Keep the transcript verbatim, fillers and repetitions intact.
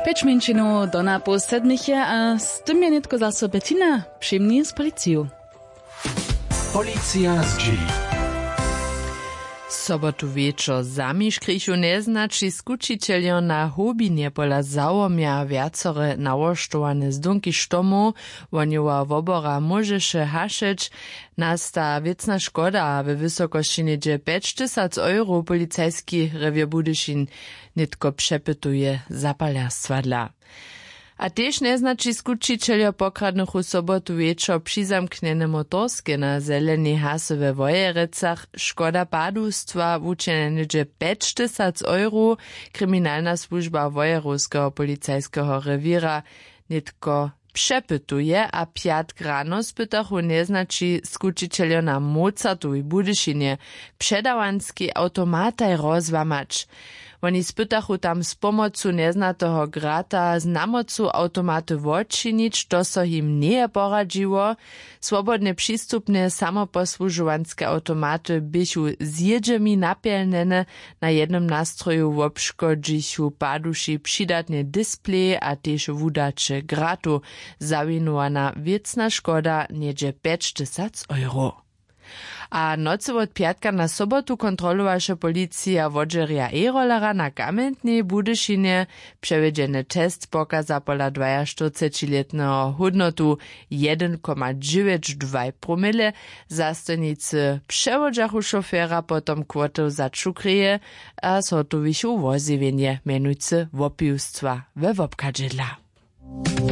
Pjeć mjeńšinow do napoł sedmich je a z tym je nětko zaso Bettina přimni z policiju. Policija zdźěli. Sobotu wječor zamiškrichu njeznaći skućićeljo na hobinje pola załomja wjacore nałožtowane zdónki štomow. Wohnjowa wobora móžeše hašeć. Nasta wěcna škoda we wysokosći něhdźe pjećtysac euro policajski rewěr budyšin nětko přepytuje zapalerstwa dla. A tež njeznaći skućićeljo pokradnychu sobotu wječor přizamknjene motorske na zelenej hasy we wojerecach. Škoda padustwa wučenja něhdźe pjećtysac euro. Kriminalna słužba wojerowskeho policajskeho rewěra nětko přepytuje a pjatk rano spytachu njeznaći skućićeljo na mozartowej budyšinje předawanskej awtomataj rozłamać. Woni spytachu tam z pomocu njeznateho grata z namocu awtomaty wočinić, to so jim njeje poradźiło. Swobodnje přistupne samoposłužowanske awtomaty běchu z jědźemi napjelnjene. Na jednym nastroju wobškodźichu paduši přidatnje displej a tež wudaće gratow. Zawinowana wěcna škoda něhdźe pjećtysac euro. A nocy wot pjatka na sobotu kontrolowaše policija wodźerja e-rollera na kamjentnej budyšinje. Přewjedźeny test pokaza pola dwajaštyrcećilětneho hódnotu jedyn koma dźewjeć dwaj promile. Zastojnicy přewodźachu šofera potom kłoty za čukreje a zhotowichu wozjewjenje mjenujcy wopiwstwa we wobchadźedla.